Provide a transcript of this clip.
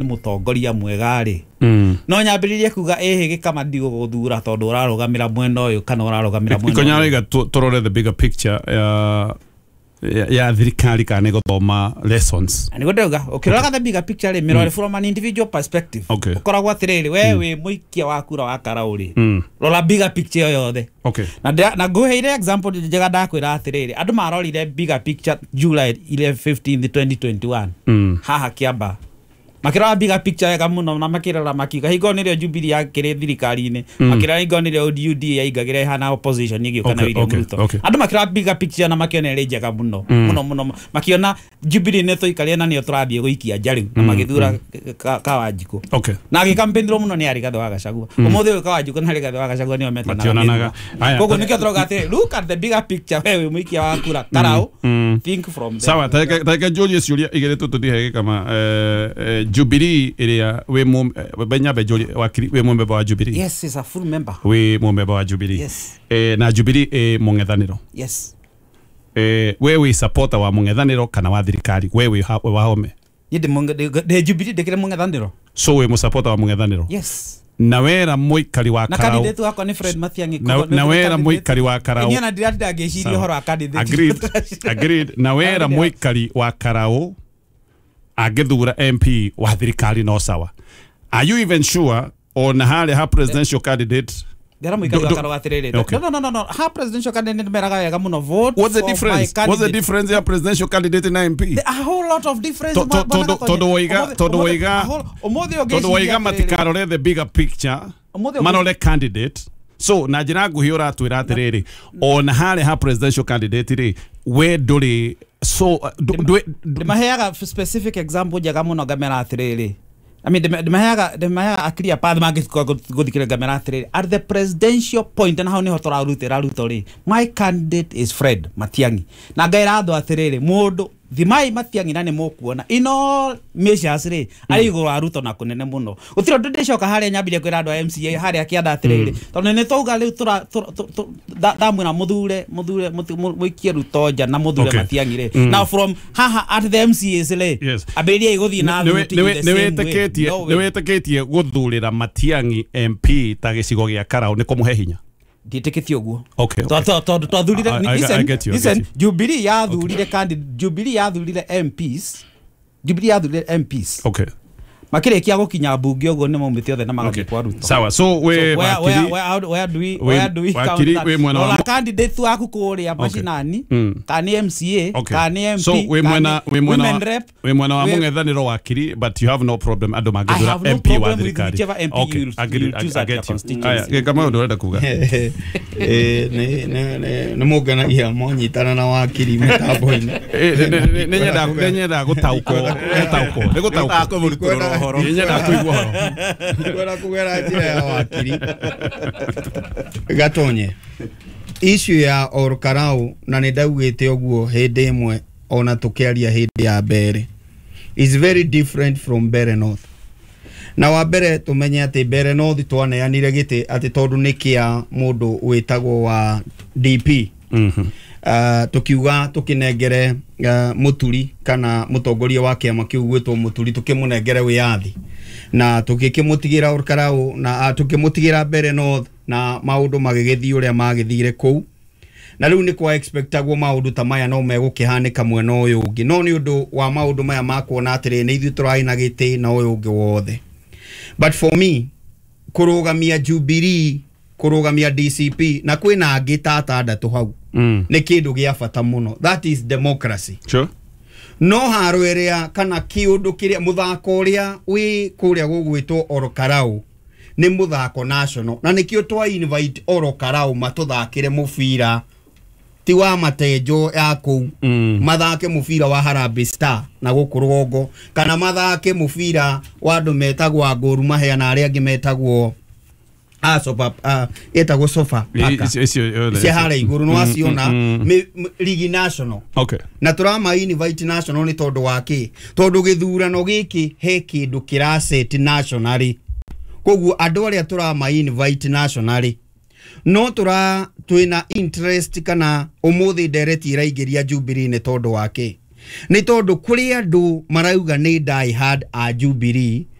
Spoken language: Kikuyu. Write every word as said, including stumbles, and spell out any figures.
Nĩ mũtongoria mwega rĩ, Mm. no nyambĩrĩrie kuga ĩhĩ gĩkama ndigũgũthura tondũ ũrarũgamĩra mwena ũyũ kana ũrarũgamĩra mwena Ikonya ũyũ. Raiga, tũrore the bigger picture ya ya, ya thirikari kana nĩ gũthoma lessons. Na nĩguo ndĩrauga, ũkĩroraga the bigger picture rĩ, mĩrore from an individual perspective. Okay. Ũkoragwo atĩrĩrĩ, we wĩ mũikia wa kura wa Karau rĩ, Mm. rora bigger picture ĩyo yothe. Okay na ndĩra- na ngũheire example njega. Ndakwĩra atĩrĩrĩ, andũ marorire bigger picture July fifteenth twenty twenty-one Mm. haha Kiambaa, makĩrora bigger picture wega mũno na makĩrora makiuga hingo nĩrĩo Jubilee yakĩrĩ thirikari-inĩ, makĩrora hingo nĩrĩo U D A yaingagĩra ĩhana opposition ĩgĩũka na Okay, William okay, Ruto. okay. Andũ makĩrora bigger picture na makĩona ĩrĩ njega mũno mũno mũno, makiona Jubilee nĩ tũikarire na nĩyo tũrathiĩ gũikia nja rĩu, na magĩthura Ka- Kawanjikũ okay na agĩkampĩnirwo mũno nĩ Rigathĩ wa Gachagua. Ũmũthĩ ũyũ Kawanjikũ na Rigathĩ wa Gachagua nĩo metanaga. Mationanaga. Aya. Koguo nĩkĩo tũrauga atĩrĩ, look at the bigger picture. We wĩ mũikia wa kura Karau, mm. think from there. Sawa, tareke njũrie ciũria igĩrĩ tu tũthiĩ gĩkama. eh, eh, Jubilee ĩrĩa wĩ mũ eh, benyambe njũrie wakiri, wĩ mũmemba wa Jubilee? Yes, is a full member. Wĩ mũmemba wa Jubilee? Yes. eh, na Jubilee ĩ mũng'ethanĩro? Yes. eh, we wĩ supporter wa mũng'ethanĩro kana wa thirikari? We wĩ ha- wa home? Niĩ ndĩ mũnge- ndĩ ndĩ Jubilee, ndĩkĩrĩ mũng'ethanĩro. So wĩ mũsupporter wa mũng'ethanĩro? Yes. Na wera mũikari wa Na Karau candidate wakwa nĩ Fred Matiang'i. na, Koguo na nĩ wera candidate- mũikari wa Karau. Niĩ ona ndiratinda ngĩciria Sawa. ũhoro wa candidate. Agreed, agreed. Na wera mũikari wa Karau angĩthura M P wa thirikari no sawa? Are you even sure ona harĩa ha presidential candidate? Ndĩra mũikari Do- wa do- Karau atĩrĩrĩ, Okay. no no no no, ha presidential candidate meraga wega mũno, vote What's the for my difference? What's the candidate. difference ya presidential candidate na M P? There a whole lot of difference. To- to- Bwana tondu- Gatonye. tondu woiga- Ũmũthĩ- tondu ũmũthĩ- woiga- a whole- ũmũthĩ tondu ũngĩciria waiga atĩrĩrĩ, matikarore the bigger picture, Ũmũthĩ ũngĩ- marore candidate. So na njĩra nguhĩ ũratwĩra atĩrĩrĩ, ona harĩa ha presidential candidate rĩ, we ndũrĩ so uh, ndũ- ndũ- Ndĩmaheaga specific example njega mũno, ngamera atĩrĩrĩ, I mean, ndĩma- ndĩmaheaga ndĩmaheaga a clear path mangĩkorwo gũthikĩrĩria. Ngamera atĩrĩrĩ, at the presidential point, na hau nĩho tũrarutĩra Ruto rĩ, my candidate is Fred Matiang'i, na ngaĩra andũ atĩrĩrĩ, mũndũ thimai Matiang'i na nĩ mũkuona in all measures rĩ arĩ igũrũ wa Ruto na kũnene mũno. Gũtirĩ ũndũ ndĩcoka harĩa nyambirie kwĩra andũ a M C A harĩa kĩanda atĩrĩrĩ, tondũ nĩ twauga rĩu tũra- tũ- tũ- tũ- nda- ndamwĩra mũthure mũthure mũti- mũ- mũikie Ruto nja na mũthure Okay. Matiang'i rĩ. Now from haha at the M C As rĩ, Yes. ambĩrĩriai gũthiĩ na Nĩ- thuti nĩ- in the same way. nĩ wĩtĩkĩtie No way. nĩ wĩtĩkĩtie gũthurĩra Matiang'i M P ta gĩcigo gĩa Karau nĩ kũmũhe hinya? Ndiĩtĩkĩtie ũguo. Okay, okay. Tondũ tondũ twathurire I- I- I listen, get you, I listen, get you. Jubilee yathurire candidate, Jubilee yathurire M Ps, Jubilee yathurire M Ps, okay makĩrĩkia gũkinya mbunge ũguo nĩ maumĩte othe na magathiĩ okay kwa Ruto. Sawa, so we So where, where, wakiri where, how, where do we, we- where do we count wakiri that? wĩ mwena wa Rora mo- candidate waku kũrĩa macinani, Mm. kana nĩ M C A, Okay. kana nĩ M P, So wĩ kana mwena nĩ wĩ mwena women wa rep, wĩ mwena wa wĩ- mũng'ethanĩro, wakiri, but you have no problem andũ I mangĩthura have no M P wa problem with thirikari? whichever M P Okay, you- agreed, you choose I at get your you. constituency. Aya, gĩka maũndũ ũrenda kuga. Eh, nĩ nĩ- nĩ- nĩ mũngenagia mwanyitana na wakiri mĩtambo-inĩ. Eh, nĩ- nĩ- nĩ- nĩ nyendaga nĩ nyendaga gũtaũkwo gũtaũkwo nĩ gũtaũkwo. Kũmũrutũrũra ũhoro. Nĩ nyendaga kũigua ũhoro. Kwenda kũgera njĩra ya wakiri Gatonye, issue ya Olkarau, na nĩ ndaugĩte ũguo hĩndĩ ĩmwe ona tũkĩaria hĩndĩ ya mbere, is very different from Mbeere North. Na wa mbere tũmenye atĩ Mbeere North twaneanire gĩtĩ atĩ tondũ nĩ kĩa mũndũ wĩtagwo wa D P, Mhm. uh, tukiuga tukinengere uh, muturi kana mutongoria wa kiama kiu gwitwo Muturi, tukimunengere wiyathi na tukikimutigĩra Olkarau na uh, tukimutigĩra Mbeere North, na maundu magĩgĩthiĩ ũrĩa magĩthire kũu. Na rĩu nĩ kwa expectagwo maũndũ ta maya no megũkĩhanĩka mwena ũyũ ũngĩ, no nĩ ũndũ wa maũndũ maya ma kuona atĩrĩ, nĩ ithuĩ tũrarĩ na gĩtĩ na ũyũ ũngĩ wothe. But for me, kũrũgamia Jubilee, kũrũgamia D C P na kwĩna angĩ ta atandatũ hau Mm. nĩ kĩndũ gĩa bata mũno. That is democracy. Sure. No haro ĩrĩa kana kĩũndũ kĩrĩa mũthako ũrĩa wĩ kũrĩa gũgwĩtwo Olkarau nĩ mũthako national, na nĩkĩo twa invite Olkarau matũthakĩre mũbira ti wa matenjo ya kũu, Mm. mathake mũbira wa Harambee Star na gũkũ rũgongo, kana mathake mũbira wa andũ metagwo a Gor Mahia na arĩa angĩ metagwo a Sofa, a ĩtagwo Sofa Paka. Icio- icio Cia harĩa igũrũ nĩ waciona, Mm, mm. mi- m- ligi national. Okay. Na tũrama invite national nĩ tondũ wa kĩ? Tondũ gĩthurano gĩkĩ he kĩndũ kĩraset nationally. Koguo andũ arĩa tũrama invite nationally, no tũra twĩna interest kana ũmũthĩ ndereti ĩraingĩria Jubilee nĩ tondũ wa kĩ? Nĩ tondũ kũrĩ andũ marauga nĩ die hard a Jubilee.